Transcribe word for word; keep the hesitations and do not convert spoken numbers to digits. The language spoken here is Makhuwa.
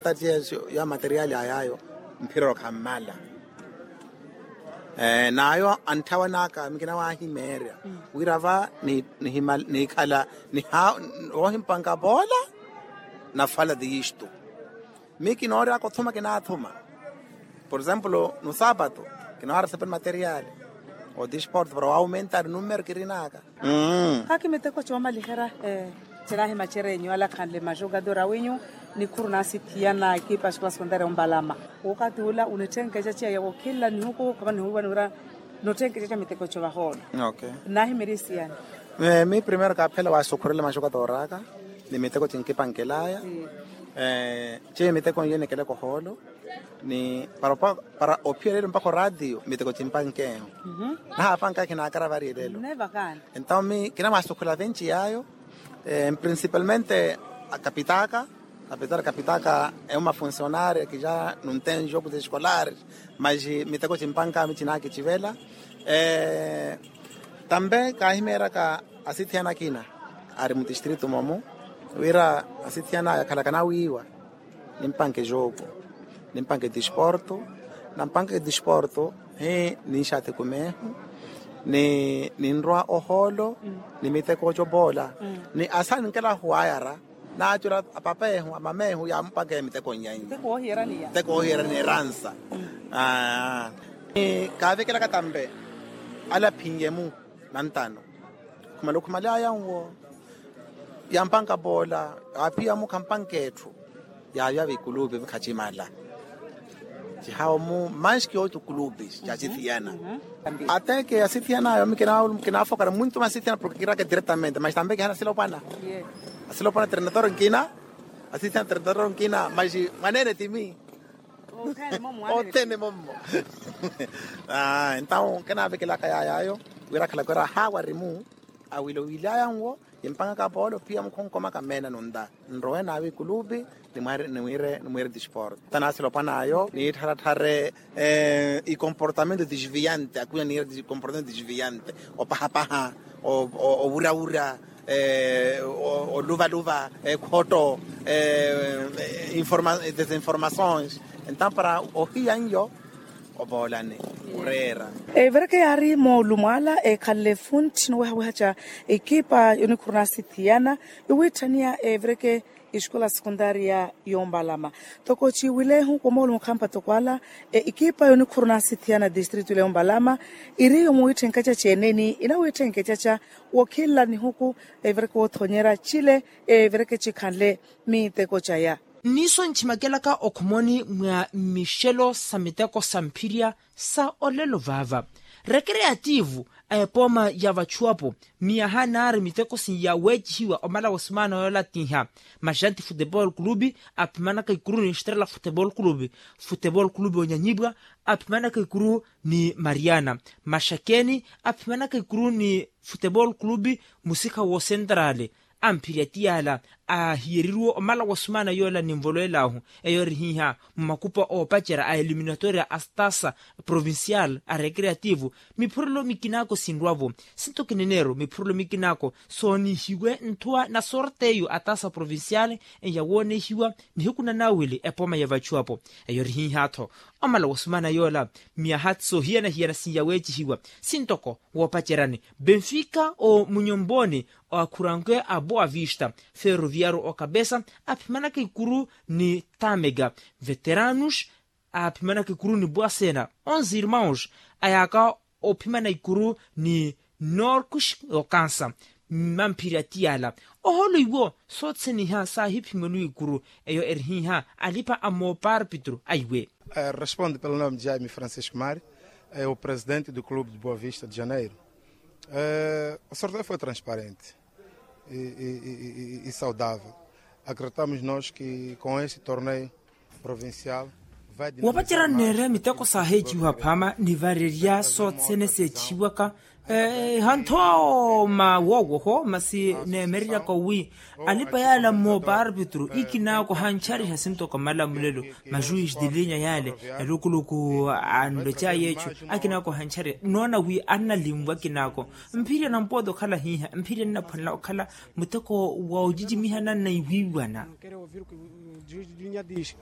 Tatiya ya materiali ayaayo mphiroro khammala. N'ayo antthawan'aka mikina waahimeerya wira va niikhala woohimpanka poola. Nafala tiyistu mi kinooryaka othuma kinaathuma. Por exemplo no sapato kinoora sepe materiali o disporto para waaumenta ari numero kirin'aka. Khaaki miteko coomaliherya. Tirahi macereenyu ala khanle majogador awinyu nikhuru naasithiyana ekipa ya xikola sekondaria ombalama. Wokati ula onitthenkececa ya wokhilla nihuku khapa nihuwiwa niwira notthenkececa miteko co vahoolo. Naahimerya isiyani. Mi primero kaaphela waasukhurela majogador aka ni miteko cinkipankelaya. Ciyo miteko nyo enekeleka ohoolo ni para ophiyereryo mpakha oraatiyo miteko cimpankeehu. Nahaapanka kinaakara variyelelo. Entawo mi kinamwaasukhula venci yaayo. Principalmente akapitaka apesar akapitaka emu mafuncionario akija nuntenjo kuza escolar. Mas miteko cimpanka mi cinakicivela. Tambe kaahimeeryaka asithiyana akina ari mutistritu momu wira asithiyana aya akhalaka nawiiwa. Nimpanke jogo nimpanke disporto. Nampanke disporto hi ninxathi kumehu ni ninrwa ohoolo ni miteko ocopoola ni asa ninkelahu wayara. Naacula apapehu amamehu yaamupanke miteko nyanyu. Miteko woohiyerani eransa. Kaavekelaka tambe ala aphinye-mu nantano. Khumala okhumaly'aya nwo yaampanka poola. Aaphiya-mu khampanka etthu yaayo ava ikulupi khatimala. Cihawo-mu manski otu kulupi caasithiyana. Ateke asithiyana ayo mi kinaafokara muntu masithiyana porke kiraka diretamente mas tambe kihana asilopwana. Asilopwana trenador nkina asithiyana trenador nkina mas mwaneene timi. Othene mommo. Entawo kinaavekelaka yaayo wira akhalaka wira ahaawa arimu awilowilaya nwo. Kimpangaka poolo phiya mukhonkomaka meena nunta nrowe naawe ikulupi nimwire disport. Tanasilopwan'ayo niittharatthare ikomportamento disviante akwiya niire ikomportamento disviante opahapaha owurawura oluvaluva ekhotto desinformações. Entampara ohiya nyo opoolani oreera. Evereke yaari moolumo ala ekhalle funthi nowehaweha ca ekipa yonikhuru naasithiyana iwiitthaniya evereke escola sekundaria yombalama. Toko ciwilehu wa moolumo khampa toko ala ekipa yonikhuru naasithiyana distritu ile yombalama iriyo muwiitthenkeca ceeneni inawiitthenkeca ca wokhilla nihuku evereke woothonyera cile evereke cikhanle miteko caya. Nniiso nchimakelaka okhumoni mwa mmixelo sa miteko sa mphirya sa olelo vaava rekereativu a epooma ya vachuwapo miyaha naari miteko sinyaweecihiwa omala wa sumaana yoola tiiha maxanti futebol kulupi aphimanaka ikuru ni estrela futebol kulupi futebol kulupi onyanyibwa aphimanaka ikuru ni mariana maxakeni aphimanaka ikuru ni futebol kulupi musikha woosentrali amphirya ti yaala aahiyeriruwe omala wa sumaana yoola ninvolowel'ahu eyo eri hiiha mumakupa oopacerya a eliminatoria a stasa provincial a recreativo miphurelo mikinako sinrwa-vo sinto kineneero miphurelo mikinako soonihiwe nthuwa na sorteyo a tasa provincial eya woonehiwa nihiku na nawili epooma ya vachuwapo eyo eri hiiha-tho omala wa sumaana yoola miyaha soohiyana-hiyana sinyaweecihiwa sintoko woopaceryani benfica omunyomboni akhuranke a boa vista ferroviario okapesa aphimanaka ikuru ni tamega veteranos aphimanaka ikuru ni boa sena onze irmãos ayaka ophimana ikuru ni norcos okansa mamphirya ti yaala ohoolo iwo soothene iha saahiphimwaniwa ikuru eyo eri hiiha alipa a moparpitro aiwe. Responde pelo nome de jaime francisco mari o presidente do clube de boa vista de janeiro. O sorteio foi transparente e saudável. Acreditamos nos que com este torneio provincial vai dinamizar mais. Wapacerya neere miteko saaheeciwa phaama ni varerya soothene seecihiwaka hanthooma woowoho masi neemereryaka wi alipa yaala mmooparpitro ikinaako hanchariha sintoka malamulelo majuis de linya yaale elukuluku anlocaye ecu akinaako hanchariha noona wi annalimwa akinaako mphirya nampoote okhala hiiha mphirya nnaphwanela okhala muteko wa ocicimihana nnaiwiiwana. Juis de linya diz